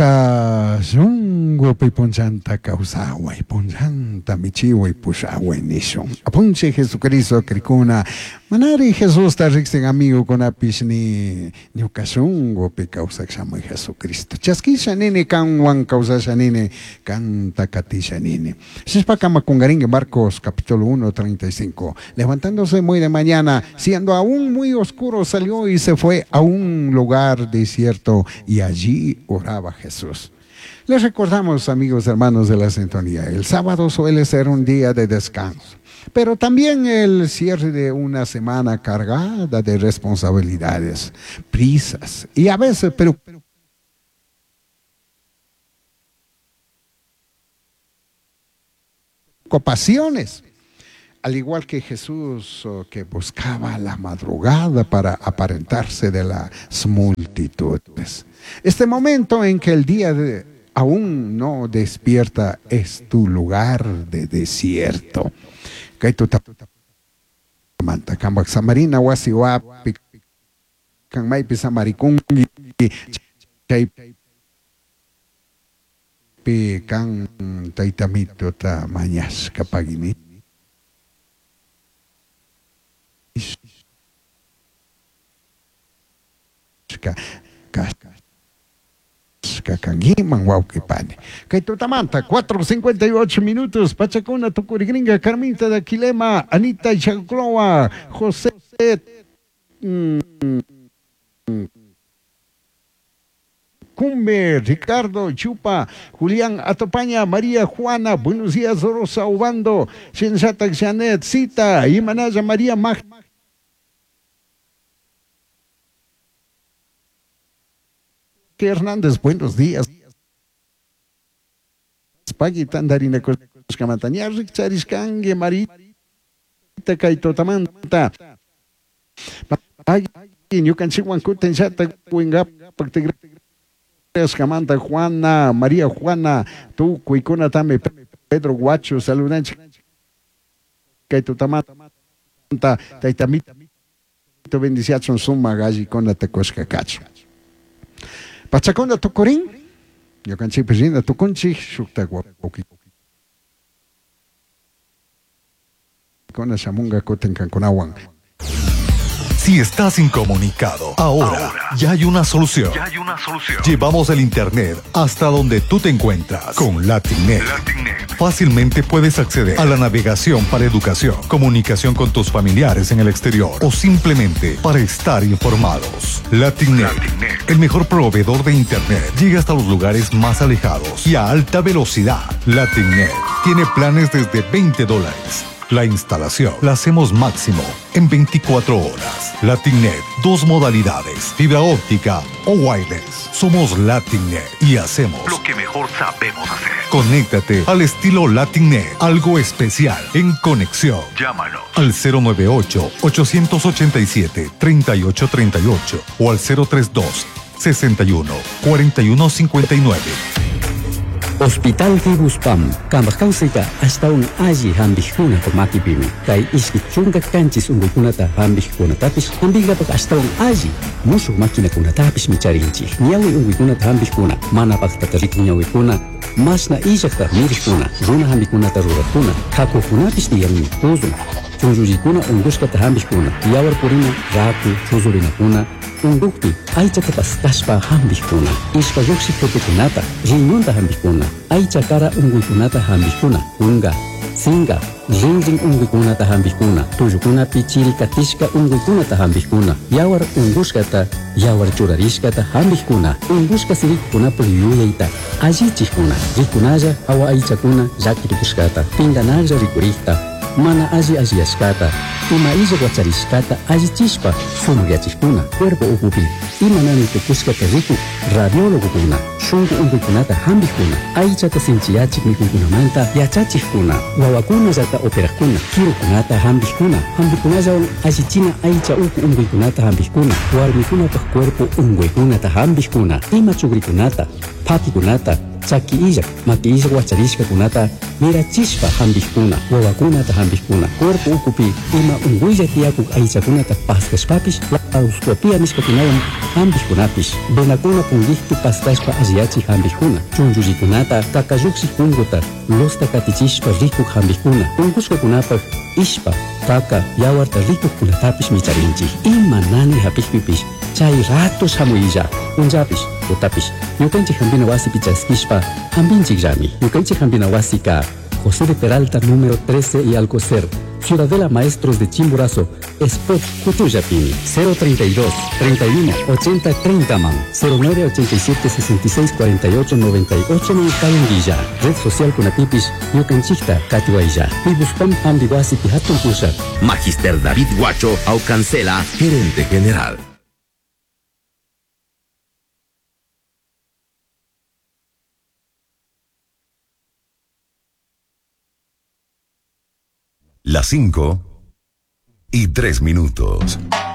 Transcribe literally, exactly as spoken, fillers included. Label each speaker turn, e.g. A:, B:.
A: Ñuka shunkupi punchanta kawsaway, punchanta michiway pushaway nishun. Apunchik Jesucristo krikuna, manari Jesusta riksin amigukunapish ni ñuka shunkupi kawsak shamuy Jesucristo. Chaskisha nini kanwan kawsasha nini, kanta katisha nini. Shishpaka makungaringue Marcos capítulo uno, treinta y cinco. Levantándose muy de mañana, siendo aún muy oscuro, salió y se fue a un lugar desierto y allí oraba Jesús. Les recordamos, amigos hermanos de la sintonía, el sábado suele ser un día de descanso, pero también el cierre de una semana cargada de responsabilidades, prisas y a veces preocupaciones. Al igual que Jesús, que buscaba la madrugada para aparentarse de las multitudes. Este momento en que el día de, aún no despierta es tu lugar de desierto. Manta kambak samarina wasi wapi kan maypi samarikunki chaypi kan taytamituta mañashka pagini. Kangiman wawqipani. Kay tutamanta cuatro cincuenta y ocho minutos, Pachacuna tukurigringa, Carmita de Aquilema, Anita Chacloa, José mm, Cumbe, Ricardo Chupa, Julián Atopaña, María Juana, buenos días, Rosa Ubando, Sensata Janet, Cita, Imanaya María Mag. Hernández, buenos días. Pagui tandarina coscamantaña, Richarishkangue, Marita, Kaitotamanta. Pagui, ñukanchikwan kutin chata, wingapak tigreskamanta, Juana, María Juana, tukuykuna tami, Pedro Guacho, saludanchik, Kaitotamanta, taytamito, bendiciachon suma gallikuna tekoshka kacho. Pachacona tukurin, ñukanchikpi rinda tukunchik, shukta wawqikuna shamunga kutin kankunawan.
B: Si estás incomunicado, ahora, ahora ya hay una solución.
C: Ya hay una solución.
B: Llevamos el internet hasta donde tú te encuentras con LatinNet.
C: LatinNet.
B: Fácilmente puedes acceder a la navegación para educación, comunicación con tus familiares en el exterior o simplemente para estar informados. LatinNet,
C: LatinNet.
B: el mejor proveedor de internet, llega hasta los lugares más alejados y a alta velocidad. LatinNet tiene planes desde veinte dólares. La instalación la hacemos máximo en veinticuatro horas. LatinNet, dos modalidades, fibra óptica o wireless. Somos LatinNet y hacemos
C: lo que mejor sabemos hacer.
B: Conéctate al estilo LatinNet, algo especial en conexión.
C: Llámanos
B: al cero nueve ocho, ocho ocho siete, tres ocho tres ocho o al cero tres dos, sesenta y uno, cuarenta y uno cincuenta y nueve.
D: Hospital Tibuspam, kambaj kawsayka ashtawan alli hampikkunapa makipimi. Kay ishki chunka kanchis unkuykunata hampikkunatapish hampinkapak ashtawan alli mushuk maquinakunatapish micharinchik. Ñawi unkuykunata hampikkuna, mana paktata rikun ñawikuna, mashna illakta mirikkuna, runa hampikunata rurakkuna, hakukunapish tiyanmi, puzun, chunllullikuna unkushkata hampikkuna, yawar purina, raku, chuzurinakuna, unkukpi aychata paskashpa hampikkuna, ishpa lluqshik tutukunata, riñonta hampikkuna, aycha kara unkuykunata hampikkuna, kunka, sinka, rinrin unkuykunata hampikkuna, tullukunapi chiri katishka unkuykunata hampikkuna, yawar unkushkata, yawar churarishkata hampikkuna, unkushka sirikunapak yuyayta allichikkuna, rikunalla hawa aychakuna llakirikushkata, pinkanalla rikurikta, mana alli alliyashkata, ima illak wacharishkata allichishpa sumakyachikuna, cuerpo ukupi ima nani tukushkata rikuk radiólogokuna, shunku unkuykunata hampikkuna, aychata sinchiyachik mikuykunamanta yachachikkuna, wawakunallata operakkuna, kirukunata hampikkuna, hampikunallawan allichina aycha uku unkuykunata hampikkuna, warmikunapak cuerpo unkuykunata hampikkuna, ima chukrikunata, phakikunata, Chaki illak, maki illak wacharishkakunata mirachishpa hampikuna, wawakunata hampikuna, cuerpo ukupi ima unkuylla tiyakuk aychakunata paskashpapish laparoscopia nishkakunawan hampikkunapish, venakuna punkikpi paskashpa alliyachik hampikkuna, chunchullikunata kakallukshik punkuta losta katichishpa rikuk hampikkuna, unkushkakunapak ishpa, kaka, yawarta rikukkunatapish micharinchik. Ima nani hapikpipish chay rato shamuylla, punllapish, tutapish, ñukanchik hampina wasipi chaskishpa hampinchikllami. Ñukanchik hampina wasika José de Peralta número trece y Alcocer, Ciudadela Maestros de Chimborazo, Spot Cutullapini, cero treinta y dos, treinta y uno, ochenta, treinta man, cero nueve ochenta y siete, sesenta y seis, cuarenta y ocho, noventa y ocho man Kayunguilla, Red Social Kunatipis, Ñukanchikta, Katiwaya, Pibuspam Hambiwasi Pihatun Pushat.
E: Magister David Guacho Aucancela, gerente general.
F: Las cinco y tres minutos.